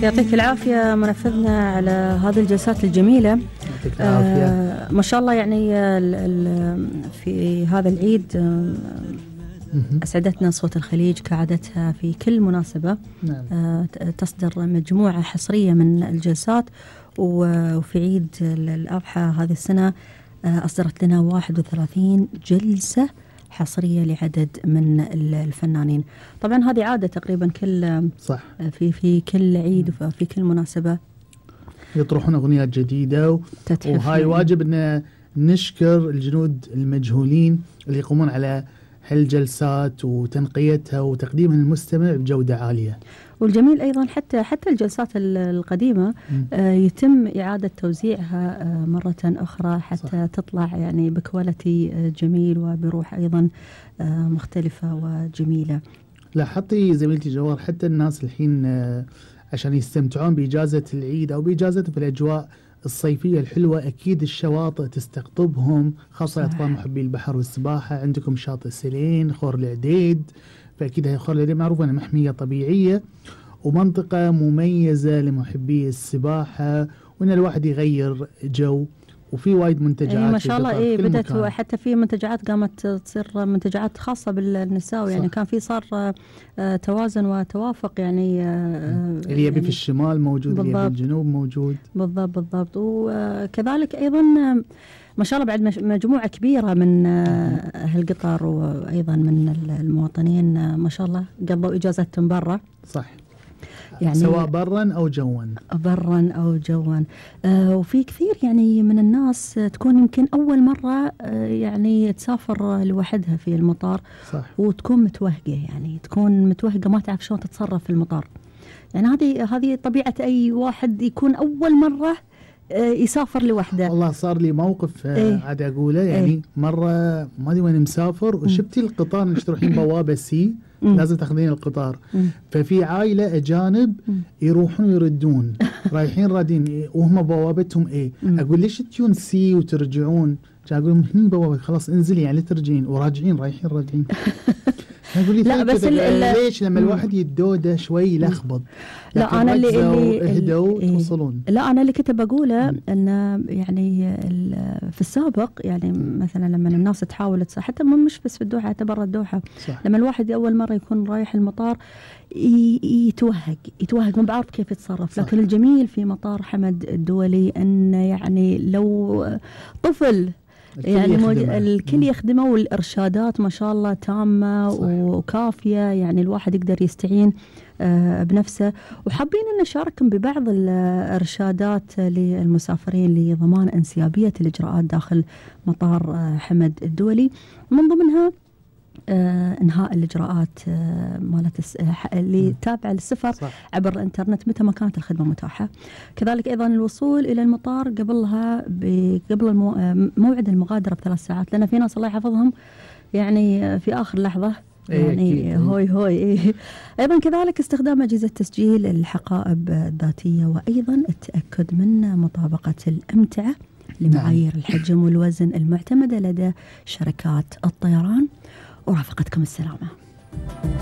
يعطيك العافية منفذنا على هذه الجلسات الجميلة. يعطيك العافية. ما شاء الله يعني في هذا العيد أسعدتنا صوت الخليج كعادتها في كل مناسبة. نعم. تصدر مجموعة حصرية من الجلسات، وفي عيد الأضحى هذه السنة أصدرت لنا 31 جلسة حصرية لعدد من الفنانين. طبعا هذه عادة تقريبا كل صح في كل عيد وفي كل مناسبة يطرحون أغنيات جديدة وهاي واجب أن نشكر الجنود المجهولين اللي يقومون على هالجلسات وتنقيتها وتقديمها للمستمع بجودة عالية. والجميل أيضا حتى الجلسات القديمة يتم إعادة توزيعها مرة أخرى حتى صح. تطلع يعني بكواليتي جميل وبروح أيضا مختلفة وجميلة. لاحظتي زميلتي جوار حتى الناس الحين عشان يستمتعون بإجازة العيد أو بإجازة في الأجواء الصيفية الحلوة، أكيد الشواطئ تستقطبهم، خاصة أطفال محبي البحر والسباحة. عندكم شاطئ سلين، خور العديد، فأكيد هي خور العديد معروفة أنها محمية طبيعية ومنطقة مميزة لمحبي السباحة، وأن الواحد يغير جو. وفي وايد منتجعات ما شاء الله بدأت حتى في منتجعات قامت تصير منتجعات خاصة بالنساء، يعني كان في صار توازن وتوافق يعني اللي يبي في الشمال موجود، اللي يبي في الجنوب موجود. بالضبط. وكذلك أيضا ما شاء الله بعد مجموعة كبيرة من أهل قطر وأيضا من المواطنين ما شاء الله قضوا إجازتهم برا. صح، يعني سواء برا أو جوا. وفي كثير يعني من الناس تكون يمكن أول مرة يعني تسافر لوحدها في المطار. صح. وتكون متوهقة، يعني تكون متوهقة ما تعرف شلون تتصرف في المطار. يعني هذه طبيعة أي واحد يكون أول مرة يسافر لوحده. والله صار لي موقف عاد أقوله يعني مرة ما أدري وين مسافر وشفتي القطار اللي تروحين بوابة سي لازم تاخذين القطار. ففي عائلة أجانب يروحون يردون رايحين رادين وهم بوابتهم أقول ليش تجون سي وترجعون؟ أقول لهم هني بوابة خلاص انزلي يعني ترجعين وراجعين رايحين راجعين. أقول لي لا بس ليش لما الواحد يدوده شوي يلخبط. لا أنا اللي اهدوا توصلون. لا أنا اللي كنت بقوله أن يعني في السابق يعني مثلا لما الناس تحاول حتى مش بس في الدوحة حتى برا الدوحة صح. لما الواحد أول مرة يكون رايح المطار يتوهق ما بعرف كيف يتصرف صح. لكن الجميل في مطار حمد الدولي أن يعني لو طفل يعني الكل يخدمه والإرشادات ما شاء الله تامة صح. وكافية، يعني الواحد يقدر يستعين بنفسه. وحابين أن نشارككم ببعض الإرشادات للمسافرين لضمان انسيابية الإجراءات داخل مطار حمد الدولي، من ضمنها انهاء الاجراءات مالت اللي تابعه للسفر صح. عبر الانترنت متى ما كانت الخدمه متاحه. كذلك ايضا الوصول الى المطار قبل موعد المغادره ب3 ساعات، لان في ناس الله يحفظهم يعني في اخر لحظه يعني هوي. ايضا كذلك استخدام اجهزه تسجيل الحقائب الذاتيه، وايضا التاكد من مطابقه الامتعه لمعايير الحجم والوزن المعتمده لدى شركات الطيران. ورافقتكم السلامة.